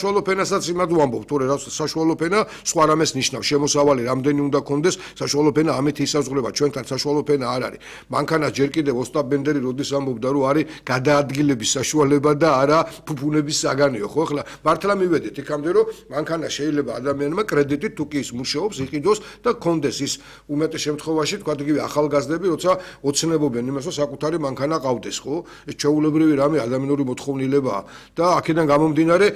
საშუალო ფენასაც იმად ვამბობ, თორე რა საშუალო ფენა სხვა რამეს ნიშნავს, შემოსავალი რამდენი უნდა კონდეს, საშუალო ფენა ამით ისაზღვრება, ჩვენთან საშუალო ფენა არ არის. მანქანას ჯერ კიდევ ოსტატ ბენდერი როდის ამბობდა, რომ არის გადაადგილების საშუალება და არა ფუფუნების საგანიო, ხო? ახლა მართლა მივედით იქამდე, რომ მანქანა შეიძლება ადამიანმა კრედიტით თუ კი ის მუშაობს, იყიდოს და კონდეს ის უმეტეს შემთხვევაში, თქვა იგივე ახალგაზრდები, როცა ოცნებობენ იმას, რომ საკუთარი მანქანა ყავდეს, ხო? ეს ჩვეულებრივი რამე ადამიანური მოთხოვნილებაა და აქედან გამომდინარე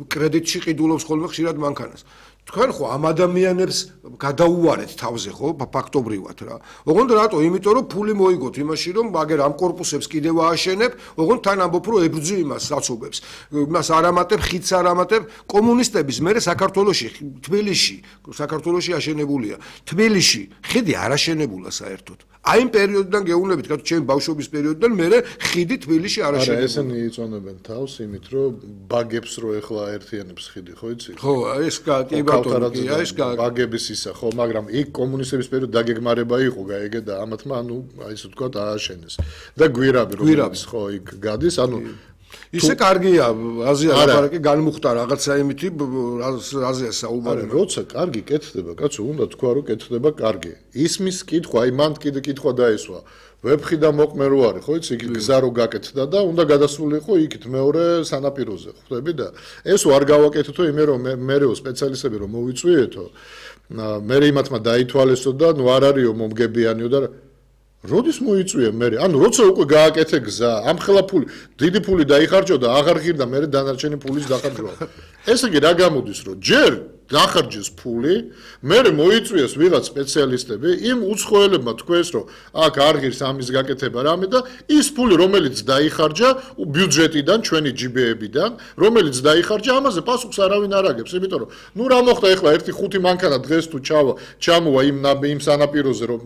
კრედიტში ყიდულობს ხოლმე ხშირად მანქანას. თქვენ ხო ამ ადამიანებს გადაუვარეთ თავზე ხო ფაქტობრივად რა. ოღონდ რატო? იმიტომ რომ ფული მოიგოთ იმაში რომ მაგერ ამ კორპუსებს კიდევ ააშენებ, ოღონდ თან ამბობ რომ ებრძვი იმას საცობებს. იმას არ ამატებ, ხიდს არ ამატებ. კომუნისტების მერე საქართველოში, თბილისში, საქართველოში აშენებულია. თბილისში ხიდი არ აშენებულა საერთოდ. აი იმ პერიოდიდან გეუბნებით, კაცო, ჩემი ბავშვობის პერიოდიდან მერე ხიდი თბილისში არ აშენებულა. არა, ესენი იწონებენ თავს იმით, რომ ბაგებს რო ეხლა აერთიანებს ხიდი, ხო იცი? ხო, ეს კი ბატონო, ეს ბაგების ისა, ხო, მაგრამ იქ კომუნისტების პერიოდში დაგეგმარება იყო, გაიგე და ამათმა, ანუ აი ესე ვთქვათ, ააშენეს. და გვირაბი რომელიც ხო იქ გადის, ანუ ისე კარგია, აზია ლაპარაკი განმუხტა რაღაცა იმითი, აზია საუბარი. როცა კარგი კეთდება, კაცო, უნდა თქვა რომ კეთდება კარგი. ისმის კითხვა, აი მან კიდე კითხვა დაესვა. ვებხი და მოყმე რო არის, ხო იცი, იქ გზა რო გაკეთდა და უნდა გადასულიყო იქით მეორე სანაპიროზე, ხვდები და ეს არ გავაკეთეთო იმე რომ მერეო სპეციალისტები რომ მოვიწვიეთო. მე იმათმა დაითვალესო და ნუ არ არისო მომგებიანიო და როდის მოიწვია მე? ანუ როცა უკვე გააკეთე გზა, ამხელა ფული, დიდი ფული დაიხარჯო და აღარ ღირდა მე დანარჩენი ფულის დახარჯვა. ესე იგი რა გამოდის რომ ჯერ დახარჯეს ფული, მე მოიწვიეს ვიღაც სპეციალისტები, იმ უცხოელებმა თქვეს რომ აქ არ ღირს ამის გაკეთება რამე და ის ფული რომელიც დაიხარჯა ბიუჯეტიდან, ჩვენი ჯიბეებიდან, რომელიც დაიხარჯა, ამაზე პასუხს არავინ არ აგებს, იმიტომ რომ ნუ რა მოხდა ეხლა ერთი ხუთი მანქანა დღეს თუ ჩამოვა იმ სანაპიროზე რომ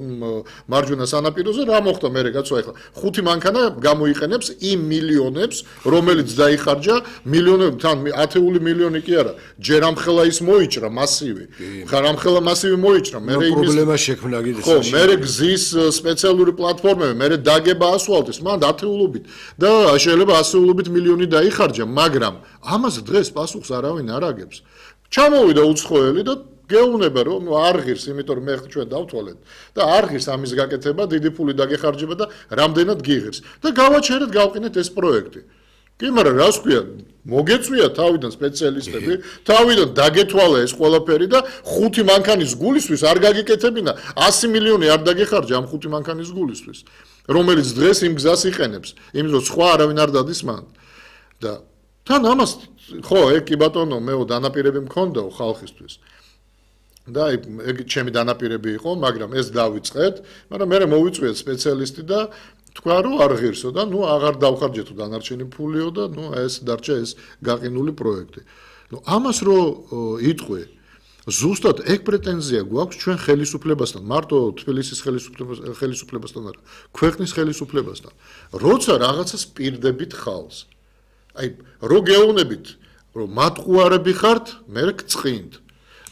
მარჯვენა სანაპიროზე რა მოხდა მე კაცო ეხლა ხუთი მანქანა გამოიყენებს იმ მილიონებს რომელიც დაიხარჯა მილიონები თან ათეული მილიონი კი არა ჯერ ამხელა ის მოიჭრა მასივი ხარ ამხელა მასივი მოიჭრა მე იმის პრობლემა შექმნა კიდე ხო მე გზის სპეციალური პლატფორმები მე დაგება ასფალტის მან ათეულობით და შეიძლება ასეულობით მილიონი დაიხარჯა მაგრამ ამას დღეს პასუხს არავინ არ აგებს ჩამოვიდა უცხოელი და გეუბნება რომ არ ღირს, იმიტომ რომ მე ჩვენ დავთვალეთ და არ ღირს ამის გაკეთება, დიდი ფული დაგეხარჯება და რამდენად გიღირს და გავაჩერეთ, გავყინეთ ეს პროექტი. კი, მაგრამ რას ქვია, მოგეწვია თავიდან სპეციალისტები, თავიდან დაგეთვალა ეს ყველაფერი და ხუთი მანქანის გულისთვის არ გაგიკეთებინა, 100 მილიონი არ დაგეხარჯა ამ ხუთი მანქანის გულისთვის, რომელიც დღეს იმ გზას იყენებს, იმიტომ რომ სხვა არავინ არ დადის მან. და თან ამას ხო, კი ბატონო, მეო დანაპირები მქონდაო ხალხისთვის. და ეგ ჩემი დანაპირები იყო, მაგრამ ეს დავიწყეთ, მაგრამ მე მოვიწვიეთ სპეციალისტი და თქვა რომ არ ღირსო და ნუ აღარ დავხარჯეთო დანარჩენი ფულიო და ნუ ეს დარჩა ეს გაყინული პროექტი. ნუ ამას რო იტყვი, ზუსტად ეგ პრეტენზია გვაქვს ჩვენ ხელისუფლებასთან, მარტო თბილისის ხელისუფლებასთან არა, ქვეყნის ხელისუფლებასთან. როცა რაღაცას პირდებით ხალხს. აი, რო გეუბნებით, რომ მატყუარები ხართ, მე გწყინთ.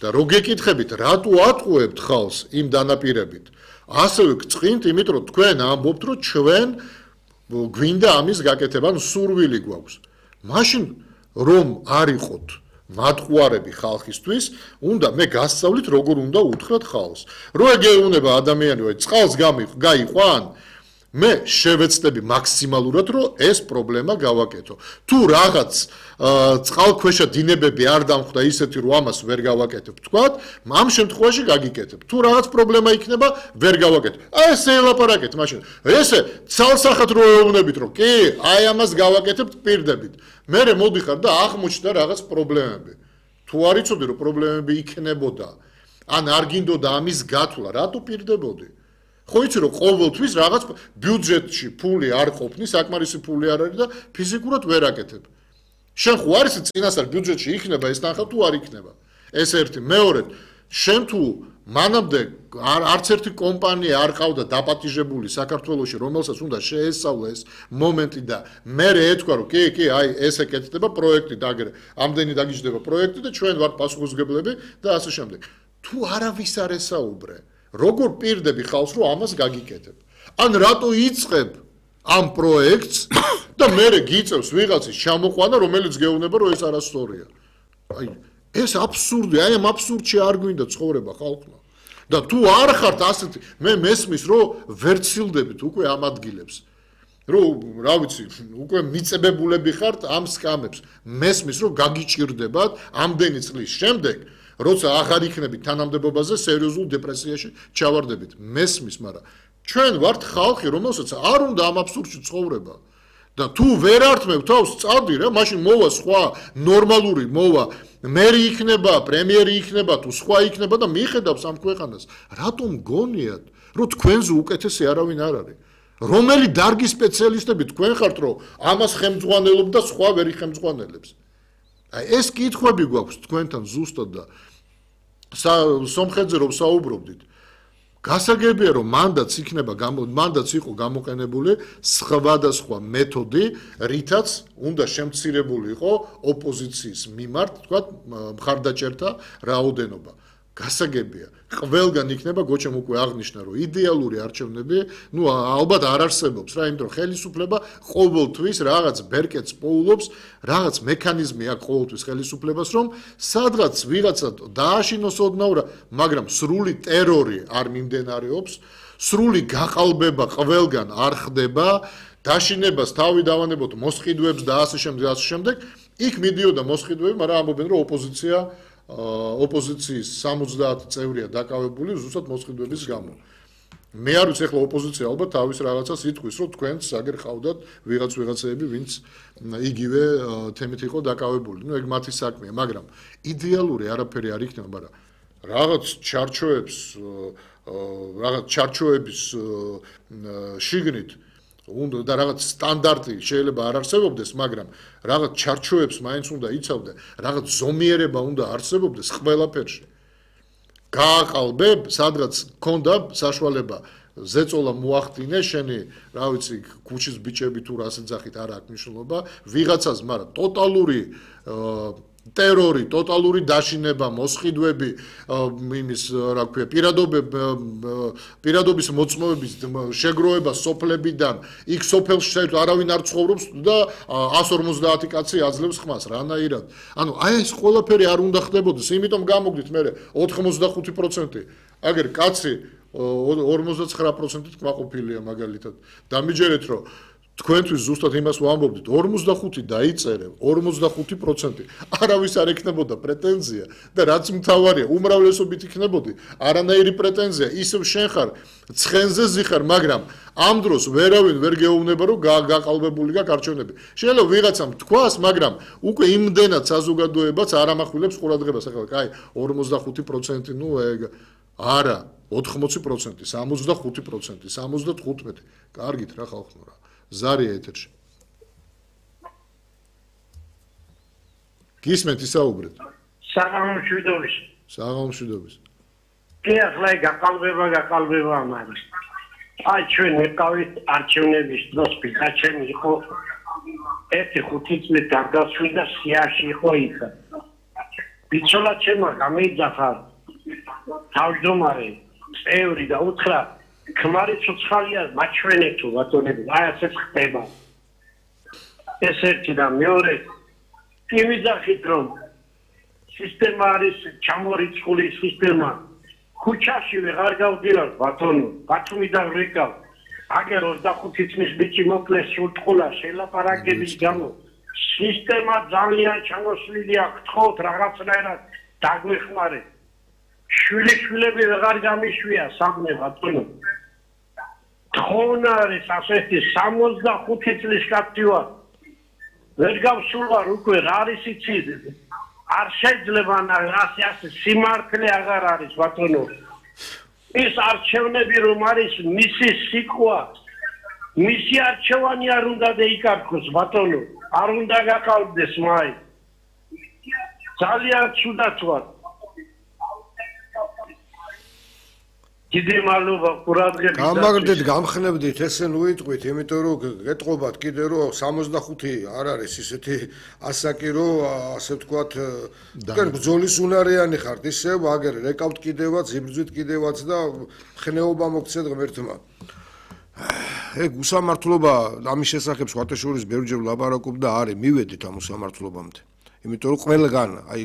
და რო გეკითხებით, რატო ატყუებთ ხალხს იმ დანაპირებით? ასევე გწყინთ, იმიტომ რომ თქვენ ამბობთ, რომ ჩვენ გვინდა ამის გაკეთება, ანუ სურვილი გვაქვს. მაშინ რომ არ იყოთ მატყუარები ხალხისთვის, უნდა მე გასწავლით, როგორ უნდა უთხრათ ხალხს. რო ეგეუნება ადამიანი, რომ წყალს გაიყვან, მე შევეცდები მაქსიმალურად, რომ ეს პრობლემა გავაკეთო. თუ რაღაც წყალქვეშა დინებები არ დამხვდა ისეთი, რომ ამას ვერ გავაკეთებ, თქვათ, ამ შემთხვევაში გაგიკეთებ. თუ რაღაც პრობლემა იქნება, ვერ გავაკეთებ. აი ესე ელაპარაკეთ მაშინ. ესე ცალსახად რო ეუბნებით, რომ კი, აი ამას გავაკეთებთ პირდებით. მე მოდიხარ და აღმოჩნდა რაღაც პრობლემები. თუ არ იცოდი, რომ პრობლემები იქნებოდა, ან არ გინდოდა ამის გათვლა, რატო პირდებოდი? ხო იცი რომ ყოველთვის რაღაც ბიუჯეტში ფული არ ყოფნის, საკმარისი ფული არ არის და ფიზიკურად ვერ აკეთებ. შენ ხო არის წინასწარ ბიუჯეტში იქნება ეს თანხა თუ არ იქნება. ეს ერთი, მეორედ, შენ თუ მანამდე არც ერთი კომპანია არ ყავდა დაპატიჟებული საქართველოში, რომელსაც უნდა შეესწავლა ეს მომენტი და მე ეთქვა რომ კი, აი ესე კეთდება პროექტი და აგერ ამდენი დაგიჯდება პროექტი და ჩვენ ვართ პასუხისმგებლები და ასე შემდეგ. თუ არავის არ ესაუბრე როგორ პირდები ხალხს რომ ამას გაგიკეთებ? ან რატო იწყებ ამ პროექტს და მე გიწევს ვიღაცის ჩამოყვანა, რომელიც გეუბნება რომ ეს არასწორია. აი ეს აბსურდი, აი ამ აბსურდში არ გვინდა ცხოვრება ხალხმა. და თუ არ ხართ ასეთი, მე მესმის რომ ვერცილდებით უკვე ამ ადგილებს. რომ რა ვიცი, უკვე მიწებებულები ხართ ამ სკამებს. მესმის რომ გაგიჭირდებათ ამდენი წლის შემდეგ, როცა აღარ იქნებით თანამდებობაზე, სერიოზულ დეპრესიაში ჩავარდებით. მესმის, მაგრამ ჩვენ ვართ ხალხი, რომელსაც არ უნდა ამ აბსურდში ცხოვრება. და თუ ვერ ართმევ თავს წავდი რა, მაშინ მოვა სხვა ნორმალური მოვა მერი იქნება, პრემიერი იქნება თუ სხვა იქნება და მიხედავს ამ ქვეყანას. რატომ გონიათ, რომ თქვენზე უკეთესი არავინ არ არის? რომელი დარგის სპეციალისტები თქვენ ხართ, რომ ამას ხელმძღვანელობ და სხვა ვერ იხელმძღვანელებს? აი ეს კითხვები გვაქვს თქვენთან ზუსტად და სომხეთზე რომ საუბრობდით. გასაგებია რომ მანდატს იყო გამოყენებული სხვადასხვა მეთოდი, რითაც უნდა შემცირებული იყო ოპოზიციის მიმართ, თქვათ, მხარდაჭერთა რაოდენობა. გასაგებია, ყველგან იქნება გოჩემ უკვე აღნიშნა, რომ იდეალური არჩევნები, ალბათ არ არსებობს რა, იმიტომ რომ ხელისუფლება ყოველთვის რაღაც ბერკეტს პოულობს, რაღაც მექანიზმი აქვს ყოველთვის ხელისუფლებას, რომ სადღაც ვიღაცა დააშინოს ოდნავ, მაგრამ სრული ტერორი არ მიმდინარეობს, სრული გაყალბება ყველგან არ ხდება, დაშინებას თავი დავანებოთ მოსყიდვებს და ასე შემდეგ, იქ მიდიოდა მოსყიდვები, მაგრამ ამბობენ რომ ოპოზიციის 70 წევრია დაკავებული ზუსტად მოსყიდვების გამო. მე არ ვიცი, ახლა ოპოზიცია ალბათ თავის რაღაცას იტყვის, რომ თქვენც აგერ ყავდათ ვიღაცები, ვინც იგივე თემით იყო დაკავებული. ეგ მათი საქმეა, მაგრამ იდეალური არაფერი არ იქნება, მაგრამ რაღაც ჩარჩოების შიგნით უნდა და რაღაც სტანდარტი შეიძლება არ არსებობდეს, მაგრამ რაღაც ჩარჩოებს მაინც უნდა იცავდე, რაღაც ზომიერება უნდა არსებობდეს ყველაფერში. გააყალბებ, სადღაც გქონდა საშუალება ზეწოლა მოახდინე, შენი, რა ვიცი, ქუჩის ბიჭები თუ რას ეძახით, არ აქვს მნიშვნელობა, ვიღაცას, მაგრამ ტოტალური ტერორი, ტოტალური დაშინება, მოსყიდვები, იმის, რა ქვია, პირადობის მოწმობების შეგროვება სოფლებიდან, იქ სოფელში საერთოდ არავინ არ ცხოვრობს და 150 კაცი აძლევს ხმას, რანაირად. ანუ აი ეს ყველაფერი არ უნდა ხდებოდეს, იმიტომ გამოგდით მე 85%. აგერ კაცი 59%-ით კმაყოფილია მაგალითად. დამიჯერეთ რომ თქვენთვის ზუსტად იმას ვამბობდით, 45 დაიწერე, 45%. არავის არ ექნებოდა პრეტენზია და რაც მთავარია, უმრავლესობით იქნებოდი, არანაირი პრეტენზია, ისევ შენ ხარ, ცხენზე ზიხარ, მაგრამ ამ დროს ვერავინ ვერ გეუბნება, რომ გაყალბებული გაქვს არჩევნები. შეიძლება ვიღაცამ თქვას, მაგრამ უკვე იმდენად საზოგადოებაც არ ამახვილებს ყურადღებას. ახლა კაი, 45%, ეგ არა, 80%, 65%, 75. კარგით რა ხალხო რა. ზარია ეთერში. გისმენთ ისაუბრეთ. საღამომშვიდობის. საღამომშვიდობის. კი ახლა გაყალბება ამას. აი ჩვენ ვიყავით არჩევნების დროს პიკაჩენი იყო 1-5 წლის გარდაცვლილი და სიაში იყო იქ. ბიჭოლა ჩემმა გამეიძახა თავმჯდომარე წევრი და უთხრა ქმარი ცოცხალია მაჩვენეთო ბატონები, აი ასეც ხდება. ეს ერთი და მეორე იმიძახით რომ სისტემა არის ჩამორიცხული სისტემა. ქუჩაში ვეღარ გავდივარ ბატონო, ბათუმიდან ვეკავ. აგერ 25 წლის ბიჭი მოკლეს სულტყულა შელაპარაკების გამო. სისტემა ძალიან ჩამოსვლილია, გთხოვთ რაღაცნაირად დაგვეხმარეთ. შვილები ვეღარ გამიშვია სამნე ბატონო. თხოვნა არის ასეთი 65 წლის კაცი ვარ. ვერ გავსულვარ უკვე რა არის იცით. არ შეიძლება ასე სიმართლე აღარ არის ბატონო. ის არჩევნები რომ არის მისი სიყვა, მისი არჩევანი არ უნდა დაიკარგოს ბატონო. არ უნდა გაყალბდეს მაინც. ძალიან ცუდად ვარ. დიდი მადლობა ყურადღებით. გამაგრდით, გამხნევდით, ესე ნუ იტყვით, იმიტომ რომ გეტყობათ კიდე რომ 65 არ არის ისეთი ასაკი რომ ასე ვთქვათ, თქვენ ბრძოლის უნარიანი ხართ, ისევ აგერ რეკავთ კიდევაც, იბრძვით კიდევაც და ხნეობა მოგცეთ ღმერთმა. ეგ უსამართლობა ამის შესახებ სხვათა შორის ბევრჯერ ვლაპარაკობ და არის მივედით ამ უსამართლობამდე. იმიტომ რომ ყველგან, აი